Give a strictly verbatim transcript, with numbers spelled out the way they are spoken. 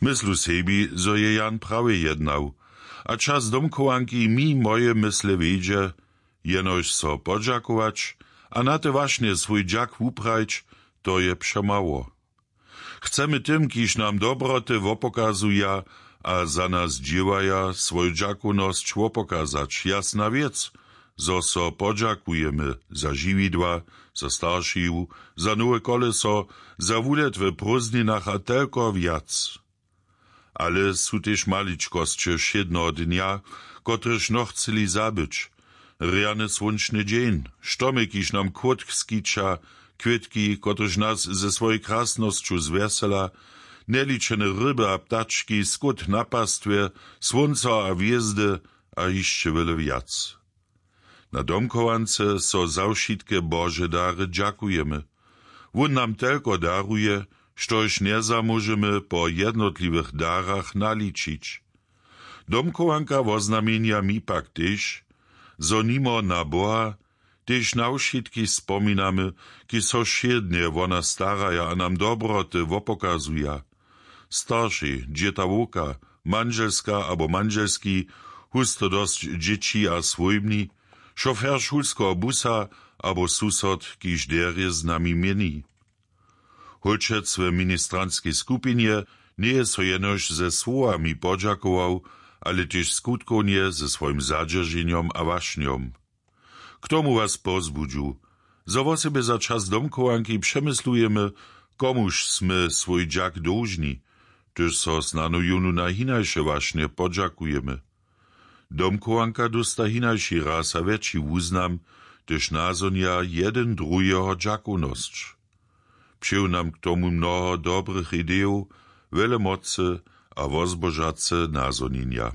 Myslu sebi, zo je Jan prawje jednał, a čas domchowanki mi moje mysle wjedźe, jenož so podźakować a na te wašnje swój dźak wuprajić, to je přemało. Chcemy tym, kiž nam dobroty wopokazuja a za nas dźěłaja, swóju dźakownosć wopokazać, jasna wěc, zo so podźakujemy za žiwidła, za staršiju, za nowe koleso, za wulet w prózdninach a telko wjac. Ale su tež maličkosće wšědneho dnja, kotrež nochceli zabyć: rjany słónčny dźeń, štomy, kiž nam kłótk skića, kwětki, kotrež nas ze swojej krasnosću zwjesela, njeličene ryby a ptački, skót na pastwje, słónco a hwězdy a hišće wjele wjac. Na domchowance so za wšitke Bože dary dźakujemy. Wón nam telko daruje, štož njezamóžemy po jednotliwych darach naličić. Domchowanka woznamjenja mi pak tež, zo nimo na Boha tež na wšitkich spominamy, kiž so wšědnje wo nas staraja a nam dobroty wopokazuja. Staršej, dźěta, wowka, mandźelska abo mandźelski, husto dosć dźěći a swójbni, šofer šulskeho busa abo susod, kiž derje z nami měni. Hólčec w ministranskej skupinje njeje so jenož ze słowami podźakował, ale tež skutkownje ze swojim zadźerženjom a wašnjom. K tomu was pozbudźu, zo wosebje za čas domchowanki přemyslujemy, komuž smy swój dźak dóžni, hdyž so snano jónu na hinaše wašnje podźakujemy. Domchowanka dósta hinaši raz a wjetši wuznam, hdyž nazhonja jedyn druheho dźakownosć. Přeju nam k tomu mnoho dobrych idejow, wjele mocy a wozbožace nazhonjenja.